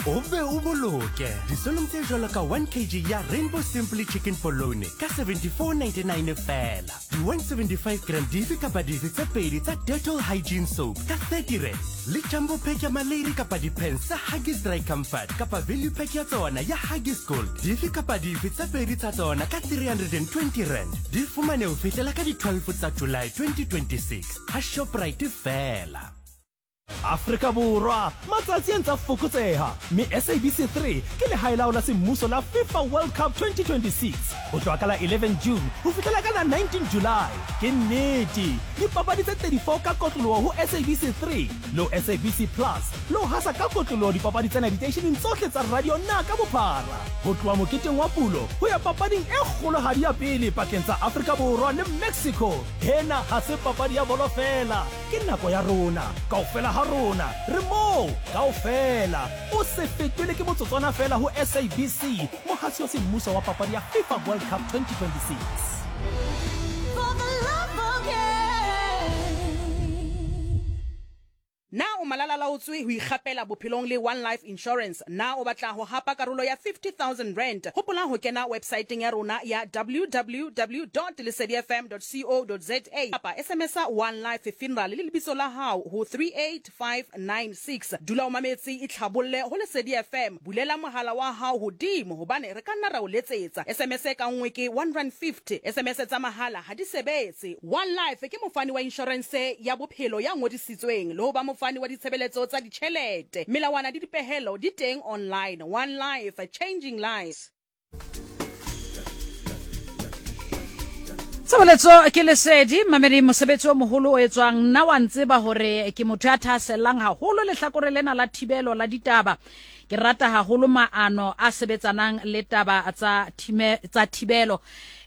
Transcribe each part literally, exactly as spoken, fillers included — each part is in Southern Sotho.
O be o boloke disolong tse jwalo ka one kg ya Rainbow Simply Chicken Polony ka seventy-four ninety-nine feela. Di one seventy-five gram dife kapa dife tse pedi tsa Dettol Hygiene Soap ka thirty rand. Le jumbo pack ya Malady kapa di-pants tsa Huggies Dry Comfort kapa value pack ya tsona ya Huggies Gold. Dife kapa dife tse pedi tsa tsona ka three hundred and twenty rand. Di fumane ho fihlela ka di twelve tsa July twenty twenty-six ha Shoprite feela. Afrika Borwa, matsatsi a ntse a fokotseha mme S A B C three ke lehae la semmuso la FIFA World Cup twenty twenty-six ho tloha ka la eleven June ho fihlela ka la nineteen July. Ke nnete, dipapadi tse thirty-four ka kotloloho ho S A B C three le ho S A B C Plus le ho hasa ka kotloloho dipapadi tsena diteisheneng tsohle tsa radio na ka bophara. Ho tloha moketeng wa pulo ho ya papading e kgolohadi ya pele pakeng tsa Afrika Borwa le Mexico. Hena ha se papadi ya bolo feela, ke nako ya rona kaofela ha rona re moo kaofela. O se fetwele ke motsotswana feela ho S A B C, mohasi wa semmuso wa papadi ya FIFA World Cup twenty twenty-six. For the love of game. Na o malala laotswe ho ikgapela bophelong le One Life Insurance. Na o batla ho hapa karolo ya fifty thousand rand. Hopola ho kena websiteng ya rona ya w w w dot lesedi f m dot co dot z a kapa S M S One Life Funeral le lebitso la hao ho three eight five nine six. Dula o mametse itlhabolle ho Lesedi F M. Bulela mohala wa hao hodimo hobane re ka nna ra o letsetsa. S M S ka nngwe ke one rand fifty. S M S tsa mahala ha di sebetse. One Life ke mofani wa insurance ya bophelo ya ngodisitsweng le ho ba mofani wa ditshebeletso tsa ditjhelete. Melawana le dipehelo di teng online. One Life, changing lives. Tshebeletso ke Lesedi, mamedi, mosebetsi o moholo o etswang. Nna wa ntseba hore ke motho ya thahasellang haholo lehlakore lena la thibelo la ditaba. Ke rata haholo maano a sebetsanang le taba tsa thime, tsa thibelo.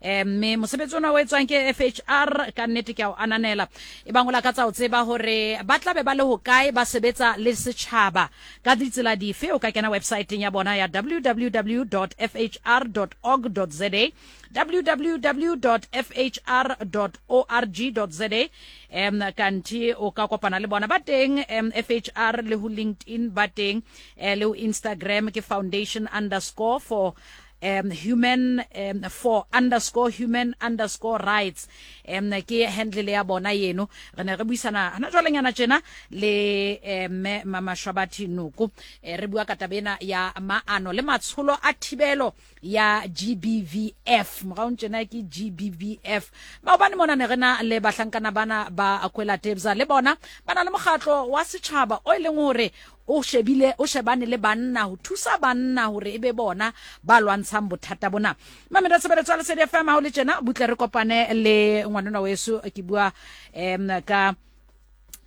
Eh, mme mosebetsi ona o etswang ke F H R ka nnete ke a o ananela. E bang o lakatsa ho tseba hore ba tla be ba le hokae, ba sebetsa le setjhaba ka ditsela dife, o ka kena websiteng ya bona ya w w w dot f h r dot org dot z a, w w w dot f h r dot org dot z a. Em kanti o ka kopana le bona ba teng em, F H R le ho LinkedIn ba teng, eh, le ho Instagram ke foundation underscore for um human um, for underscore human underscore rights. Um ke handle ya bona yeno. Re ne re buisana hana jwale nyana tjena le mme Mama Shwabathi Noko, re bua ka taba ena ya maano le matsholo a thibelo ya G B V F. Moraong tjena ke G B V F. Maobane mona ne re na le bahlankana bana ba Akwela Tebza, le bona ba na le mokgatlo wa setjhaba o e leng hore o shebile o shebane le banna ho thusa banna hore ebe bona ba lwantshang bothata bona. Mamela tshebeletso ya Lesedi F M ha o le tjena, butle re kopane le ngwanona weso ke bua em ka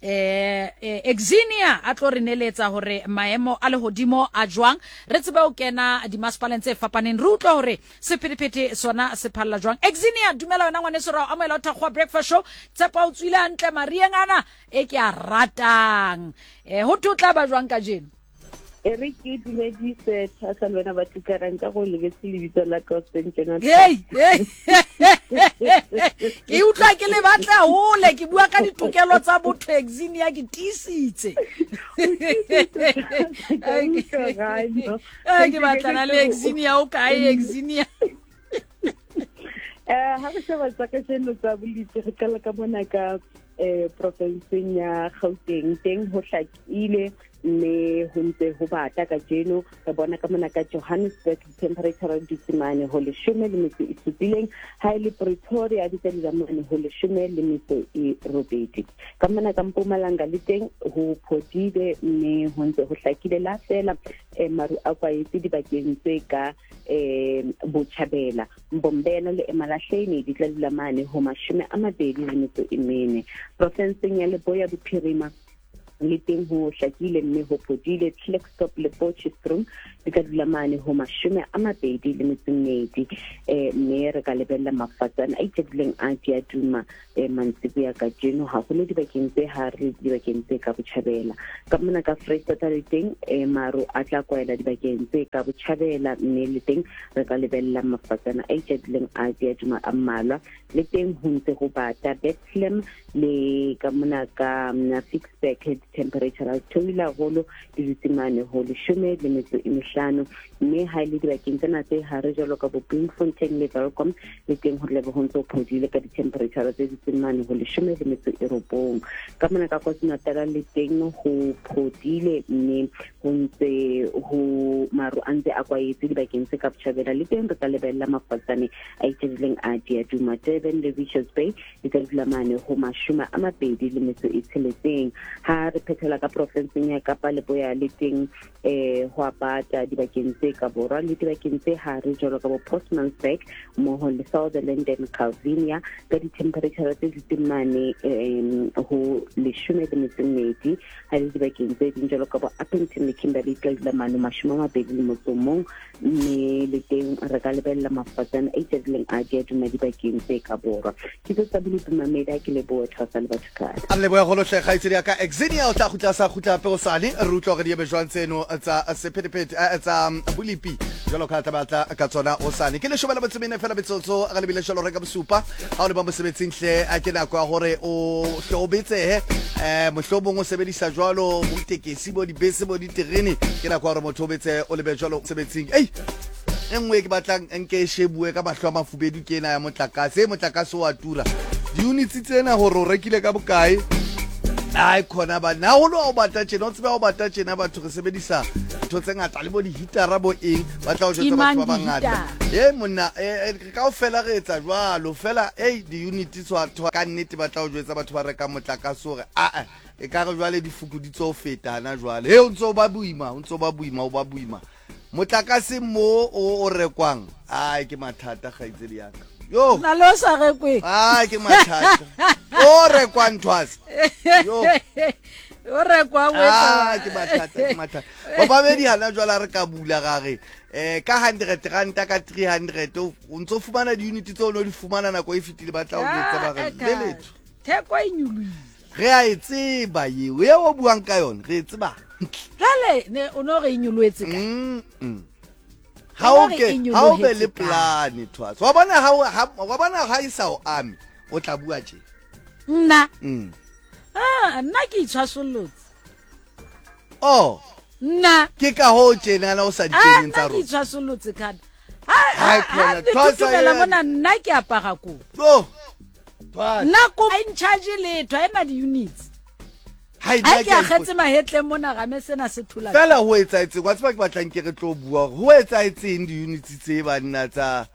eh Exinia a tlo re neletsa hore maemo a lehodimo a jwang, re tsebe ho kena dimasepaleng tse fapaneng, re utlwe hore sephethephethe sona se phalla jwang. Exinia, dumela wena ngwaneso, ra o amohela ho Thakgowa Breakfast Show. Tshepa o tswile hantle marieng ana e ke a ratang. Eh ho thwe o tla ba jwang kajeno? E re ke dumedise Thasa le wena ba tlikarang ka go lebetse lebitso la ka hoseng tjena. Hey, hey. Ke utlwa ke le batla hole, ke bua ka ditokelo tsa botho Exinia, ke tiisitse. Eh ke batlana le Exinia, o kae Exinia? Eh ha re sheba tsa kajeno tsa bolitse, re qala ka mona ka eh profinseng ya Gauteng, teng ho hlakile mme ho ntse ho bata kajeno. Re bona ka mona ka Johannesburg temperature di tsimane ho leshome le metso e supileng, ha e le Pretoria di tla dula mane ho leshome le metso e robedi. Ka mona ka Mpumalanga le teng ho phodile mme ho ntse ho hlakile la fela eh, maru a kwaetse dibakeng tse ka eh Botjhabela. Mbombela le Emalahleni di tla dula mane ho mashome a mabedi le metso e mene. Profinseng ya Leboya Bophirima le teng ho hlakile mme ho phodile. Klerksdorp le Potchefstroom di ka dula mane ho mashome a mabedi le metso e mmedi. Eh mme re ka lebella mafatsana a itjadileng a diaduma eh mantsiboya kajeno, haholo dibakeng tse hare le dibakeng tse ka botjhabela. Ka mona ka Freistata le teng eh maru a tla kwaela dibakeng tse ka botjhabela, mme le teng re ka lebella mafatsana a itjadileng a diaduma a mmalwa. Le teng ho ntse ho bata Bethlehem le ka mona ka Ficksburg Di-temperature di theohile haholo, di dutse mane ho leshome le metso e mehlano. Mme ha e le dibakeng tsena tse hare jwalo ka bo Bloemfontein le Welkom, le teng ho tlabe ho ntse ho phodile ka di-temperature tse dutseng mane ho leshome le metso e robong. Ka mona ka KwaZulu-Natal le teng ho phodile, mme ho ntse ho maru a ntse a kwaetse dibakeng tse ka botjhabela. Le teng re ka lebella mafatsane a itjhebile a Diaduma, Durban le Richards Bay di ka dula mane ho mashome a mabedi le metso e tsheletseng. Ha re phethela ka profenseng ya Kapa Leboya, le teng eh ho a bata dibakeng tse ka borwa le dibakeng tse hare jwalo ka bo Postmasburg mmoho le Sutherland and Calvinia, ka di-temperature tse dutseng mane um ho leshome le metso e mmedi. Ha le dibakeng tse ding jwalo ka bo Upington le Kimberley ka dula mane mashome a mabedi le motso o mong, mme le teng re ka lebella mafatsane a itjhebile a Diaduma dibakeng tse ka borwa. Ke tse tsa bolupi mamedi, ke leboha Thwasa le batho ka. A re lebohe haholo hle kgaitsedi ya ka Exinia, o tla kgutla sa kgutla hape hosane. Re utlwa hore di eme jwang tseno tsa sephethephethe, eh, tsa bolipi jwalo ka tla batla ka tsona hosane. Ke leshome le metso e mene fela metsotso re lebile jwalo re ka bosupa. Ha o le ba mosebetsing hle, a ke nako ya hore o hle o betsehe, eh mohlomong o sebedisa jwalo bo ditekesi, bo dibese, bo diterene. Ke nako ya hore motho o betsehe, o lebe jwalo mosebetsing. Ei, e nngwe ke batlang nke e shebuwe ka mahlo a mafubedu ke ena ya motlakase. E motlakase o a tura, di-units tsena hore o rekile ka bokae. Ai khona ba na holo o batla tjena, o tsebe o batla tjena. Batho re sebedisa ntho tse ngata le bo di-heatera bo eng, ba tla o jwetsa batho ba bangata. E monna, kaofela re etsa jwalo fela. Ei, di-unit tswa ka nnete, ba tla o jwetsa batho ba rekang motlakase hore aa e ka re jwale di fokoditse ho feta hana jwale. He, o ntso ba boima, o ntso ba boima, o ba boima motlakase mo o o rekwang. Ai, ke mathata kgaitsedi ya ka. Yo, na le o sa rekweng. Ai, ke mathata o rekwang Thwasa. Yo, o rekwang o etsa. Ah, ke mathata, ke mathata. Babamedi hana jwale re ka bula ra re eh ka hundred ranta, ka three hundred o ntso fumana di-unit tseo o no di fumana nako e fetile. Ba tla o jwetsa ba re le letho, theko e nyolohile. Re a e tseba eo e o buang ka yona, re e tseba. Jwale ne o no re e nyolohetse kae? Mm, mm. Ha o ke ha o be le plan Thwasa. Wa bona ha wa bona ha e sa o ame, o tla bua tje. Nna. Mm. Ah, nna ke itshwasollotse. Oh. Nna. Ke ka ho tjena na o sa dikeneng tsa rona. Ke itshwasollotse kana. Ha ha Thwasa mona nna ke apara kobo. Oh. Thwasa. Nna ko in charge letho, ha ena di-units. Ha Ha ke akgetse mahetleng mona game sena se thola. Fela ho etsahetseng, wa tseba ke batlang ke re tlo bua hore ho etsahetseng di-units tse banna tsa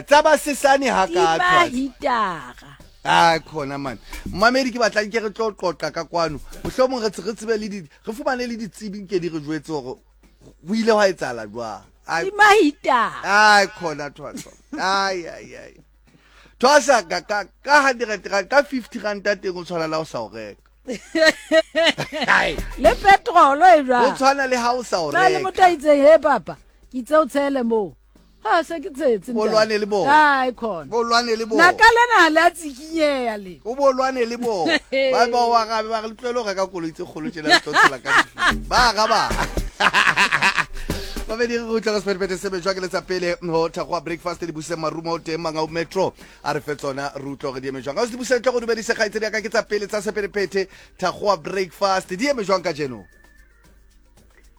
tsa ba sesane ha ka Thwasa. Hitara. Ah, khona man. Mmamedi ke batlang ke re tlo qoqa ka kwano. Mohlomong re re tsebe le di re fumane le ditsebi nke di re jwetse hore ho ile hwa etsahala jwang. Ai mahitara. Ai khona Thwasa. Ai ai ai. Thwasa ka ka ka hundred rand, ka fifty rand teng o tshwana la o sa o reka. Le petrol e jwang? O tshwana le ha o sa o Na le reka. motho a itseng, he papa, ke itse o tshele moo. Ha se ke tshetse Bo lwane le bona. Ai khona. Bo lwane le bona. Naka lena ha le a tsikinyeha le. O bo lwane le bona. Ba ba wa gabe ba re le tlohele ho reka koloi tse kgolo tjena le tlo tshela ka difu. Ba ga ba. Babedi re utlwa ka sephethephethe se bejwa ke letsa pele ho thakgoa breakfast le buse marumo o teng Mangau Metro a re fe tsona re utlwa hore di eme jwang. Ka se buse tle go dumedise kgaitsedi ya ka ke tsa pele tsa sephethephethe thakgoa breakfast di eme jwang kajeno?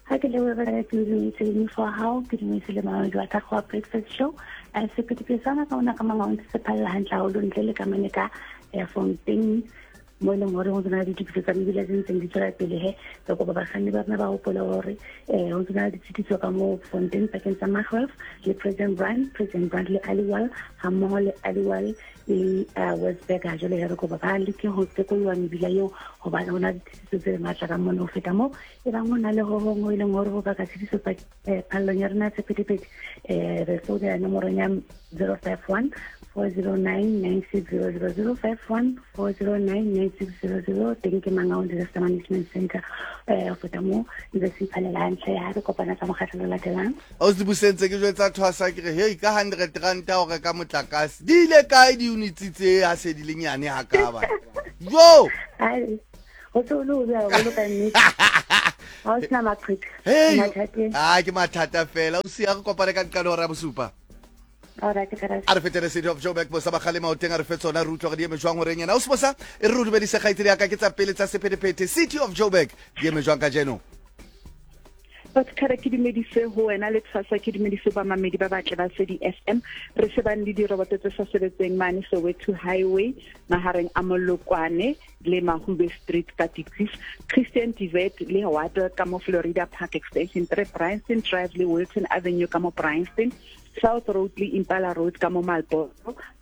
Ha ke leboha ka ke dumedise le mofo wa hao, ke dumedise le mamedi wa Thakgoa Breakfast Show. Eh, sephethephethe sa ka ona ka Mangaung se phalla hantle haholo ntle le ka mane ka Fontein mo e leng hore ho na le ditokiso tsa mebila tse ntseng di tswela pele. He re kopa bakganni ba rona ba hopole hore eh ho ntse na le ditshitiso ka moo Fontein pakeng tsa Magwelf le President Brand, President Brand le Aliwal, hammoho le Aliwal le Westberg. Ha jwale re kopa ba leke ho tekoloha mebila eo hobane ho na le ditshitiso tse matla ka mona. Ho feta moo, e bang ho na le ho hong ho e leng hore ho baka tshitiso phallong ya rona ya sephethephethe, eh re founela nomorong ya zero five one four zero nine nine six zero zero, zero five one four zero nine nine six zero zero. Teng ke Mangaung Disaster Management Center. Eh ho feta moo ntse se iphalela hantle ha re kopana tsa mokgahlelo o latelang. O se busentse ke jwetsa Thwasa ke re hei ka hundred rand ha o reka motlakase di ile kae di-units tse ha se di le nyane ha ka ba. Jo. Ai ho se o le o bua haholo ka nnete. Ha o sena maqheka. Hey. Mathateng. Ah, ke mathata fela. O siya re kopane ka nqalo hora ya bosupa. All right, ka A re fetele City of Joburg, Bosa Bakgalema o teng, a re fe tsona, re utlwa gore di eme jwang horeng ena. O Sebosa, e re re dumedise kgaitsedi ya ka, ke tsa pele tsa sephethephethe. City of Joburg di eme jwang kajeno? Batho ke dumedise ho wena le Tshwasa, ke dumedise bamamedi ba batle ba Sedi F M. Re shebane le diroboto tse sa sebetseng mane Soweto Highway mahareng a Molokwane le Mahube Street ka Diepkloof, Christian Tivet le Water ka mo Florida Park Extension three, Bryanston Drive le Wilton Avenue ka mo Bryanston, South Road le Impala Road ka mo Marlboro,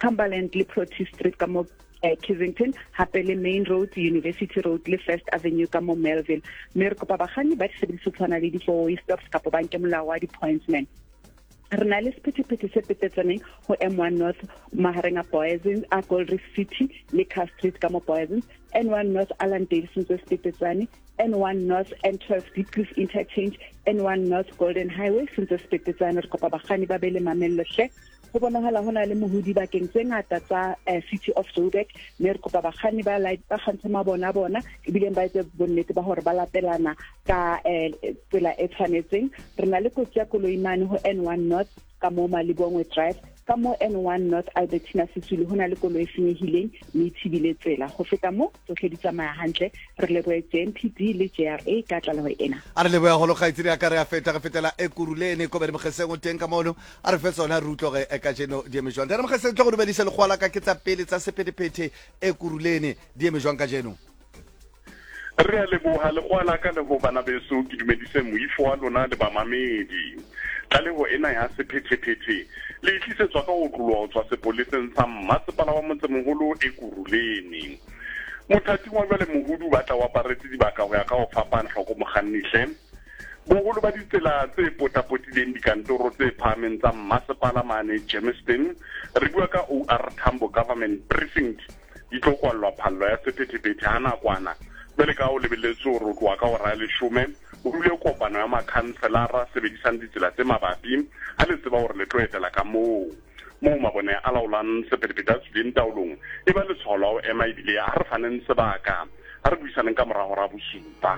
Cumberland le Protea Street ka mo eh, Kensington, hape le Main Road, University Road le First Avenue ka mo Melville. Mme re kopa bakganni ba disebediswa tshwana le di-four-way stops kapa ba nke molao wa di-pointsman. Re na le sephethephethe se petetsaneng ho M one North mahareng a Poison, a Gold Reef City le Car Street ka mo Poison, N one North Allandale sentse se petetsane, N one North N twelve Diepkloof Interchange, N one North Golden Highway sentse se petetsane. Re kopa bakganni ba be le mamello hle. Ho bonahala ho na le mohodi bakeng tse ngata tsa eh, City of Joburg, mme re kopa bakganni ba light ba kgantshe mabone a bona ebileng ba etse bonnete ba hore ba latelana ka eh, tsela e tshwanetseng. Re na le kotsi ya koloi mane ho N one North ka mo Malibongwe Drive, ka mo N one North Albertina Sisulu ho na le koloi e senyehileng mme e thibile tsela. Ho feta mo tsohle di tsamaya hantle. Re lebohe J M P D le J R A ka tlaleho ena. A re lebohe haholo kgaitsedi ya ka, re a feta, re fetela Ekurhuleni ko Bere Mokgeseng o teng ka mono, a re fe tsona re utlwe hore kajeno di eme jwang. Ntate Mokgeseng, tlo go dumedisa lekgowa la ka, ke tsa pele tsa sephethephethe Ekurhuleni di eme jwang kajeno? Re a leboha lekgowa la ka le ho bana beso, ke dumedise moifo wa lona le bamamedi. Tlaleho ena ya sephethephethe le tlisetswa ka ho otloloha ho tswa sepoleseng sa mmasepala wa motsemoholo Ekurhuleni. Mothating wa jwale mohudu ba tla o aparetse dibaka ho ya ka ho fapana hloko mokganni hle. Boholo ba ditsela tse potapotileng dikantoro tse phahameng tsa mmasepala mane Germiston, re bua ka O R Tambo Government Precinct, di tlo kwallwa phallo ya sephethephethe ha nakwana. Jwale ka o lebelletse hore o tloha ka hora ya leshome, o dule kopano ya makhanselara sebedisang ditsela tse mabapi, ha le tseba hore le tlo etela ka moo. Moo mabone a laolang sephethephethe a tswileng taolong, e ba letshwao la ho ema ebile ha re faneng sebaka, ha re buisaneng ka mora hora bosupa.